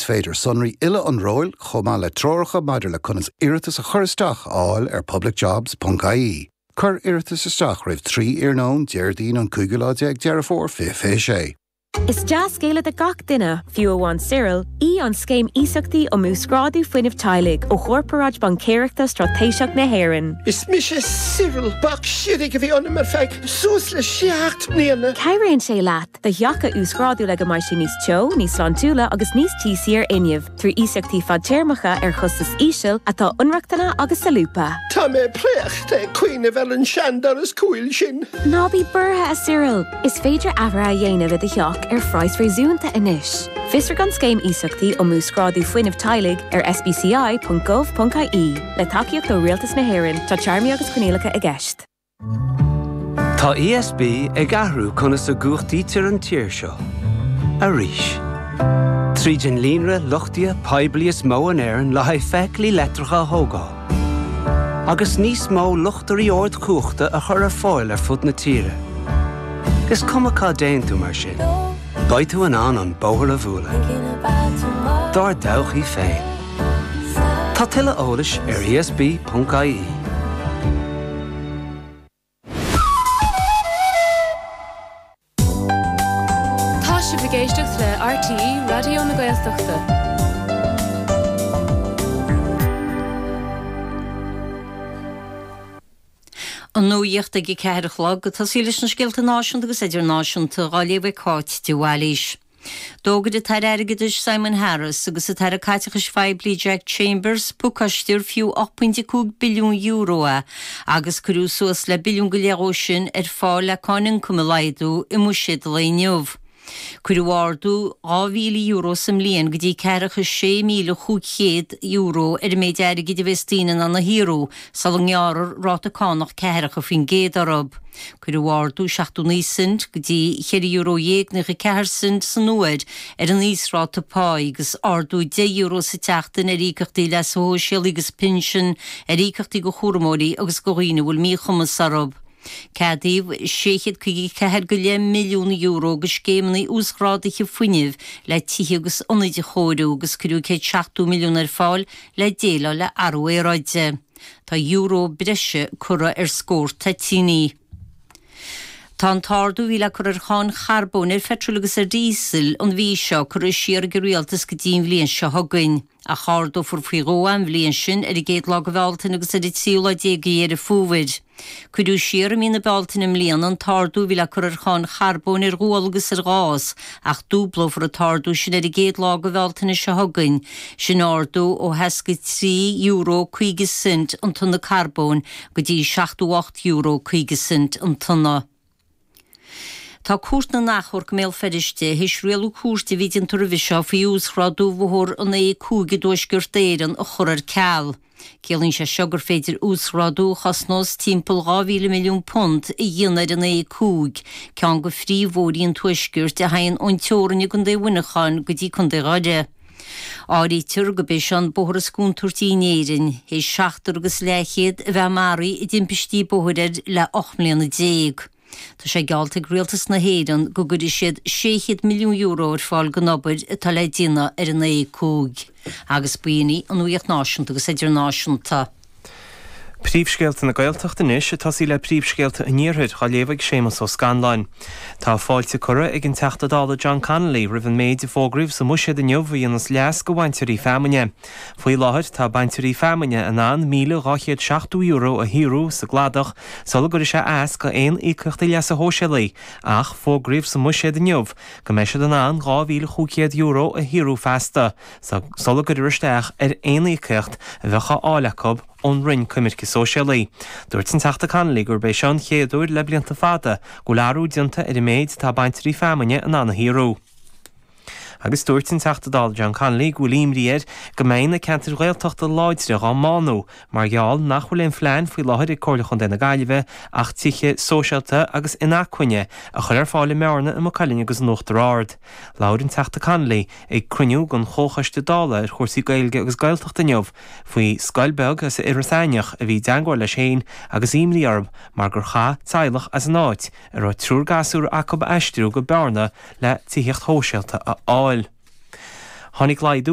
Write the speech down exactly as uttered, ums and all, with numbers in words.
Is féidir sonraí uile an róil chomh maith le treoracha maidir le conas iarratas a chur isteach a fháil ar publicjobs.ie. Cuir iarratas isteach roimh trí iarnóin Déardaoin an cúigiú lá déag Deireadh Fómhair fiche fiche sé. Is dea-scéala do gach duine, fiú amháin Cyril, í an scéim iasachtaí um uasghrádú fuinnimh teaghlaigh ó Chorparáid Baincéireachta Straitéiseach na hÉireann. Is mise Cyril bac sirig a bhí ionam ar feadh suas le seacht mbliana. Cabhraíonn sé leat do theach a uasghrádú le go mbeidh sé níos teo, níos sláintiúla agus níos tíosaí ar fhuinneamh, trí iasachtaí fadtéarmacha ar chostas íseal atá inrochtana agus solúbtha. Tá mé préachta ag cuimhneamh ar an seandoras cúil sin. Ná bí buartha a Cyril, is féidir athruithe a dhéanamh i do theach ar phraghas réasúnta anois. Fiosraigh an scéim iasachtaí um uasghrádú fuinnimh teaghlaigh ar sbci.gov.ie le tacaíocht ó Rialtas na hÉireann tá téarmaí agus coinníollacha i gceist. Tá ESB ag athrú conas a chumhachtaítear an tír seo. Arís. Tríd an líonra luchtaithe poiblí is mó in Éirinn le haghaidh feithiclí leictreacha a thógáil. Agus níos mó luchtairí ardchumhachta a chur ar fáil ar fud na tíre. Is cuma cá dtéann tú mar sin. Beidh tú in ann an bóthar a bhualadh. Dár dtodhchaí féin. Tá tuilleadh eolais ar ESB.ie. Tá sibh ag éisteacht le RTÉ Raidió na Gaeltachta. An nuacht ag a ceathair a chlog ag tosaí leis na scéalta náisiúnta agus idirnáisiúnta á léamh ag Cáit de Bhailís. D'fhógair an tAire Airgeadais Simon Harris agus an tAire Caiteachais Phoiblí Jack Chambers pacáiste ar fiú ocht bpointe cúig billiún euro é agus cuireadh suas le billiún go leith dhó sin ar fáil le cáin ioncaim a laghdú i mbuiséad an lae inniu. Cuireadh ardú dhá mhíle euro sa mbliain go dtí ceathracha sé míle chúig chéad euro ar an méid airgid a bheas daoine in ann a shaothrú sula ngearrfar ráta cánach ceathracha faoin gcéad orthu. Cuireadh ardú seachtó naoi cent go dtí cheithre euro dhéag naocha ceathair cent san uair ar an íosráta páí agus ardú deich euro sa tseachtain ar íocaíochtaí leasa shóisialaigh agus pinsin, ar íocaíochtaí do chúramóirí agus do dhaoine a bhfuil míchumas orthu. Ceadaíodh sé chéad caoga a ceathair go leith milliún euro do scéimeanna uasghrádaithe fuinnimh le tithe agus ionaid a chóiriú agus cuireadh céad seachtó milliún ar fáil le déileáil le athrú aeráide. Tá euro breise curtha ar scór toitíní. Tá an t-ardú a bhí le cur ar cháin charbóin ar pheitreal agus ar dhíosal an mhí seo curtha siar ag an rialtas go dtí an bhliain seo chugainn. Ach ardófar faoi dhó an bhliain sin ar an gcéad lá de Bhealtaine agus ar an tríú lá déag de Dheireadh Fómhair. Cuireadh siar i mí na Bealtaine i mbliana an t-ardú a bhí le cur ar cháin charbóin ar ghual agus ar ghás, ach dúblófar an t-ardú sin ar an gcéad lá de Bhealtaine seo chugainn, sin ardú ó sheasca trí euro caoga cent an tonna carbóin go dtí seachtó ocht euro caoga cent an tonna. Tá Cúirt na nAchomharc i mBéal Feirste théis rialú cúirte a bhí déanta roimhe seo faoi uasghrádú bhóthar an A cúig i dTuaisceart Éireann a chur ar ceal. Ciallaíonn sé seo gur féidir uasghrádú a chosnós timpeall dhá mhíle milliún punt a dhéanamh ar an A cúig, ceann de phríomhbhóithrí an Tuaiscirt a théann ón teorainn i gContae Mhuineacháin go dtí Contae Dhoire. Áirítear gurb é seo an bóthar is contúirtí in Éirinn, théis seachtar agus leathchéad a bheith maraithe i dtimpistí bóthair air le ocht mbliana déag. Tá sé geallta ag Rialtas na hÉireann go gcuirfidh siad sé chéad milliún euro ar fáil don obair atá le déanamh ar an A cúig. Agus b'in í an nuacht náisiúnta agus idirnáisiúnta. Príomhscéalta na Gaeltachta anois, ag tosaí le príomhscéalta an Iarthair, á léamh ag Séamus Ó Scanláin. Tá fáilte curtha ag an Teachta Dála John Connolly roimh an méid a fógraíodh sa mBuiséad inniu a dhéanfas leas do bhainteoirí feamainne. Faoi láthair tá bainteoirí feamainne in ann míle dhá chéad seachtó euro a shaothrú sa gcladach sula gcuirfidh sé as go aon íocaíochtaí leasa shóisialaigh ach fógraíodh sa mBuiséad inniu go mbeidh siad in ann dhá mhíle chúig chéad euro a shaothrú feasta sula gcuirfear isteach ar aon íocaíocht a bheadh á fháil acu ón Roinn Coimirce Sóisialaí. Dúirt an Teachta Connolly gurb é seo an chéad uair le blianta fada go bhfuil athrú déanta ar an méid atá bainteoirí feamainne in ann a shaothrú. Agus dúirt an Teachta Dála John Connolly go bhfuil imní air go mbeidh na ceantair Ghaeltachta láidre dhá mbánú mar gheall nach bhfuil aon phlean faoi láthair ag Comhairle Chontae na Gaillimhe ach tithe sóisialta agus inacmhainne a chur ar fáil i mBearna, i Maigh Cuilinn agus in Uachtar Ard. Labhair an Teachta Connolly ag cruinniú den Chomhchoiste Dála ar chúrsaí Gaeilge agus Gaeltachta inniu faoi scoil beag as Iorras Aithneach a bhí i dteangmháil leis féin agus imní orthu mar gur chaith teaghlach as an áit a raibh triúr gasúr acu aistriú go Bearna le tithíocht shóisialta a fháil. Tháinig laghdú.